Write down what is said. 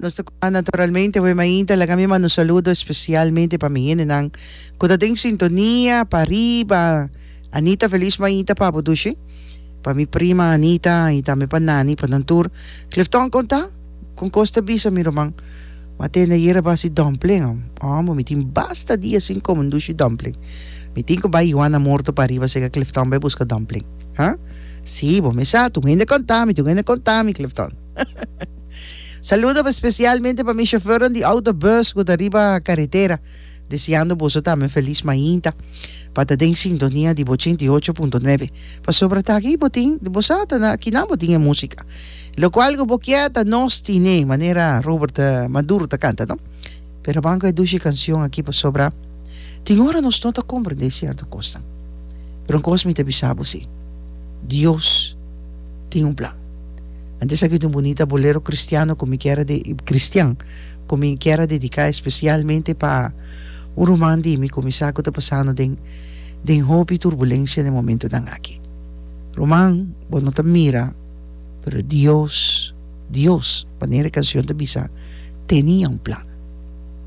Nos ta naturalmente hoy mainta laga mi manda un saludo especialmente pa mi hendenan cu ta den sintonia pa riba. Anita feliz mainta pa bo dushi. Pa mi prima Anita y tambe pa Nani pa nan tur. Clifton con ta? Con cos ta bisa mi ruman? Mi a tende ayer a basi dumpling. Amo mi tin basta dia sin come un dushi dumpling. Mi tin cu bay Juana Morto pa riba sega Clifton bay busca dumpling. Ha? Si, bo me sa, tur hende conta mi, tur hende conta mi Clifton. Saludo especialmente pa mi chofernan di autobus cu ta riba caretera. Deseando boso tambe felis mainta pa ta den sintonia di bo 88.9. Pasobra ta aki bo tin, bo sa ta na kinan bo tin e musica. Locual cu bo kier ta nos tine, manera Robert Maduro ta canta no. Pero ban cu e dushi cancion aki pasobra tin ora nos no ta comprende cierto cosnan. Pero un cos mi ta bisa bo si, Dios tin un plan. Antes aki tin un bunita bolero cristiano cu mi kier a de, cristian. Ku mi kier a dediká espesialmente pa un ruman di mi ku mi sa ku ta pasando den den hopi turbulensia den momentunan aki. Ruman, bo no ta mira, pero Dios, Dios, manera e kansion ta bisa, tenia un plan.